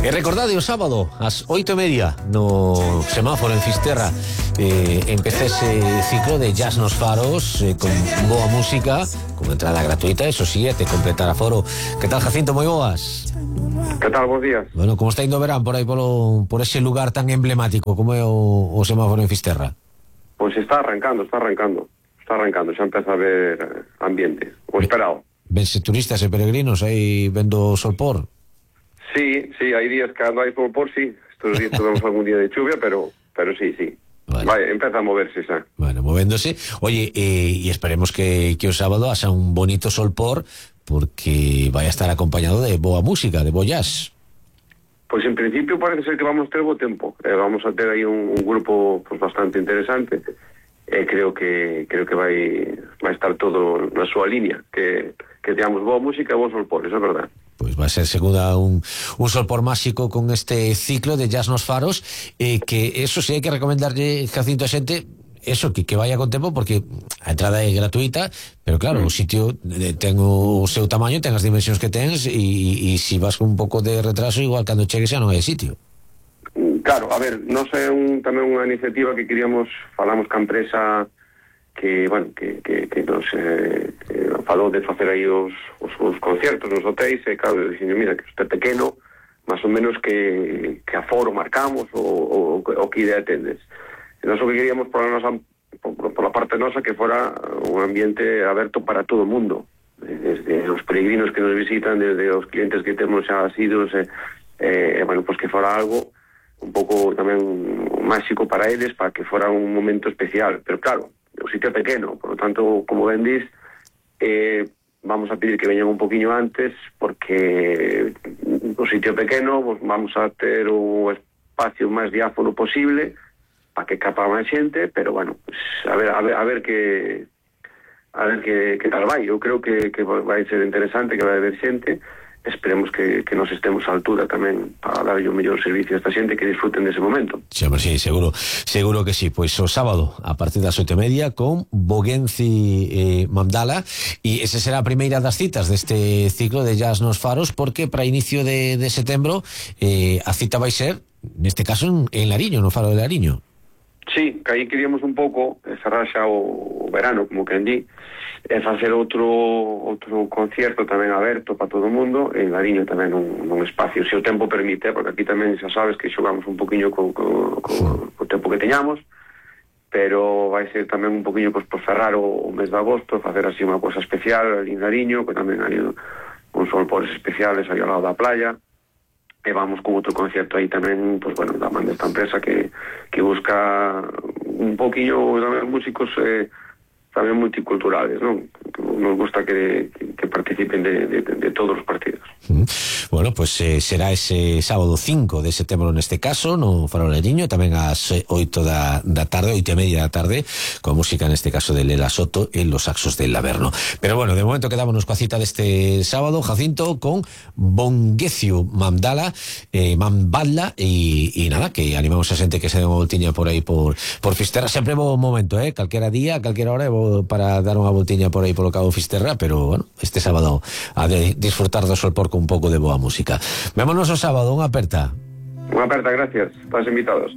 E recordade o sábado ás 8:30 no semáforo en Fisterra empeza ese ciclo de Jazz nos Faros con boa música, con entrada gratuita, eso sí, te completar aforo. Que tal, Jacinto? Moi boas. Que tal, bons días. Bueno, como está indo o verán por aí por ese lugar tan emblemático como é o semáforo en Fisterra? Pois está arrancando, xa empeza a ver ambiente, o esperado. Vense turistas e peregrinos aí vendo o solpor? Sí, hai días que cando hai solpor, sí. Estos días tuvemos algún día de chuvia, pero sí. Vale. Vai, empeza a moverse xa. Bueno, movéndose. Oye, y esperemos que o sábado haxa un bonito solpor, porque vai a estar acompañado de boa música, de bo jazz. Pois en principio parece ser que vamos ter bo tempo. Vamos a ter aí un grupo pues, bastante interesante. Creo que vai estar todo na súa línea, que teamos boa música e bo solpor, eso é verdad. Pues va a ser segunda un solpor máxico con este ciclo de Jazz nos Faros, que eso sí hai que recomendarlle, Jacinto, a xente eso, que vaya con tempo, porque a entrada é gratuita, pero claro, o sitio ten o seu tamaño, ten as dimensións que tens, e si vas con un pouco de retraso, igual cando chegues xa non hai sitio. Claro, a ver, non é tamén unha iniciativa que queríamos, falamos ca empresa que, bueno, que nos falou de facer aí os concertos nos hotéis, e claro, dixen, mira, que este pequeno, máis ou menos que aforo marcamos o que idea tendes. E nós o que queríamos por la parte nosa que fora un ambiente aberto para todo o mundo, desde os peregrinos que nos visitan, desde os clientes que temos xa asidos, bueno, pues que fora algo un pouco tamén máxico para eles, para que fora un momento especial, pero claro, o sitio é pequeno, por lo tanto, como ben dis, vamos a pedir que veñan un poquinho antes, porque o sitio é pequeno, pues vamos a ter o espacio máis diáfano posible, para que capa máis xente, pero bueno, pues, a ver que tal vai. Eu creo que vai ser interesante, que vai haber xente. Esperemos que nos estemos á altura tamén para dar o mellor servicio a esta xente, que disfruten dese momento. Sí, seguro que sí. Pois o sábado a partir das 8:30 con Bogenci Mandala, e esa será a primeira das citas deste ciclo de Jazz nos Faros, porque para inicio de setembro a cita vai ser, neste caso, en Lariño, no Faro de Lariño. Sí, que aí queríamos un pouco cerrar xa o verano, como que di, e facer outro concierto tamén aberto para todo o mundo, en Lariño tamén nun espacio, se o tempo permite, porque aquí tamén xa sabes que xogamos un poquinho co tempo que teñamos, pero vai ser tamén un poquinho pues, por cerrar o mes de agosto, facer así unha cosa especial en Lariño, que tamén hai uns solpores especiales aí ao lado da playa, e vamos con outro concierto aí tamén, pues bueno, da man desta empresa que busca un poquinho tamén músicos tamén multiculturales, non? Nos gusta que participen de todos os partidos. Bueno, pues será ese sábado 5 de setembro neste caso, no Faro Lariño, tamén ás 8 da tarde, 8:30 da tarde, con música neste caso de Lela Soto e los saxos del Laverno. Pero bueno, de momento quedámonos coa cita deste sábado, Jacinto, con Bogenci Mandala, Mambala, e nada, que animamos a xente que se dé unha voltiña por aí por Fisterra. Sempre bo momento, calquera día, calquera hora, para dar unha voltiña por aí polo Cabo Fisterra, pero bueno, este sábado a de disfrutar do solpor con un pouco de boa música. Vémonos o sábado, unha aperta. Unha aperta, gracias, estás invitados.